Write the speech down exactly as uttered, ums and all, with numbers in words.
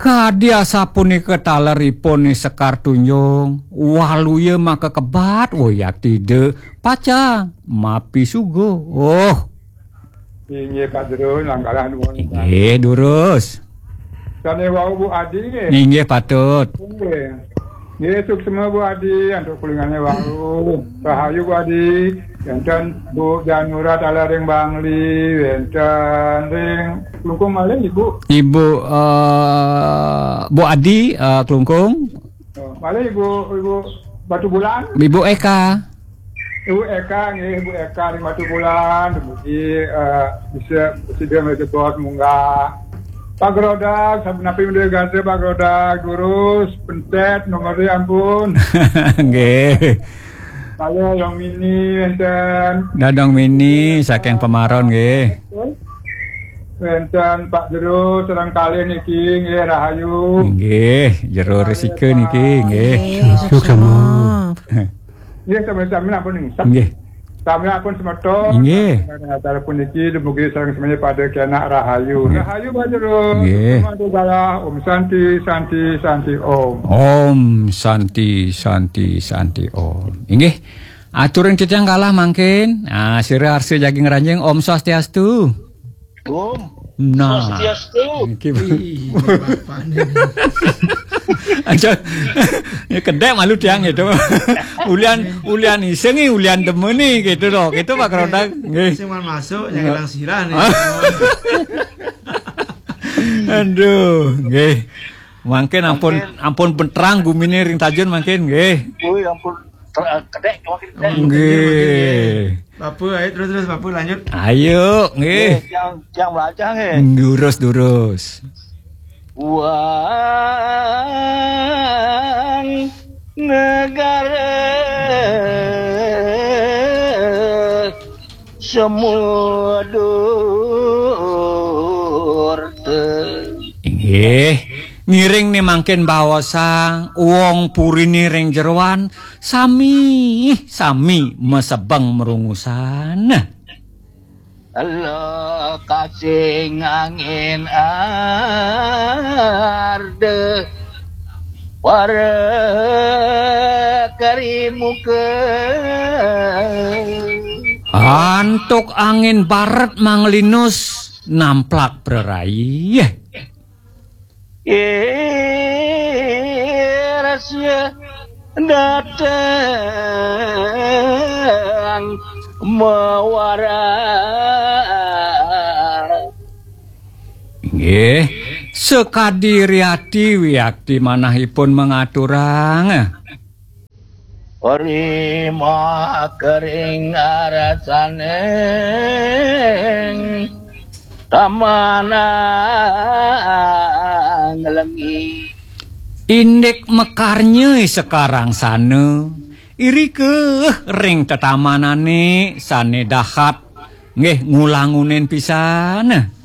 Kadi asapunika taleripun Ni Sekar Tunjung, waluya makakebat, woyak tida, pacang mapi suga. Oh. Inggih, Pak Jero, langkalah nuwun. Inggih, durus. Sane wau Bu Adi nggih. Inggih, patut. Inggih. Nggih, suksma Bu Adi, antuk kulingane wau. Rahayu Bu Adi, wenten Bu Janura taler ring Bangli, wenten ring Klungkung malih Ibu. Ibu, eh, Bu Adi, eh, Klungkung. Oh, malih Ibu, Ibu Batubulan. Ibu Eka. Ibu Eka, nggih, Ibu Eka ring Batubulan, dumugi, eh, bisa, sida mlebet munggah. Pak Grodag, sapunapi menawi gatra Pak Grodag, durus, pencet nomoré ampun. Nggih. Saya yang mini, wenten. Dadong mini, saking Pemaron, nggih. Wenten Pak Jero, sareng kalih niki, nggih, rahayu. Nggih, Jero Resika niki, nggih. Nggih, suksma. Nggih, sami-sami ampun niki. Nggih. Sami ampun semeton. Nggih. Acara puniki dumugi sareng semuanya pada kenak rahayu. Nggih. Rahayu Pak Jero. Nggih. Semangat galah. Om Santi, Santi, Santi Om. Om Santi, Santi, Santi Om. Inggih. Aturin titiang galah mangkin. Ah, sira arsa jagi ngranjing. Om Swastiastu. Om. Nah. Swastiastu. Niki. Ih, bapakne. Aja. Ya kedek malu tiang gitu. Ulian, ulian isengi, ulian demeni gitu loh. Gitu Pak Kerontang. Nggih. Sing mau masuk, yang hilang sirah nih. Aduh, nggih. Mangkin ampun, mangkin ampun penerang gumine ring Tajun mangkin, nggih. Ui, ampun. Ter-, kedek, mangkin kedek. Nggih. Bapak, ayo terus, terus, Bapak lanjut. Ayo, nggih. Nggih, tiang, tiang belajar, nggih. Durus, durus. Wang negara semua durta. Inggih, ngiring ni mangkin baosang wong purine ring jeroan, sami, sami masebeng merungusan. Ela kasing angin arda para karimuka. Antuk angin barat manglinus namplak praraih. Irasya datang mawara. Nggih, sekadi riati wiakti manahipun mangaturang. Rimah kering arasaning tamanang lengi. Indik mekarnya sekarang sana, irika ring tetamanane sane dahat, nggih ngulangunin pisan.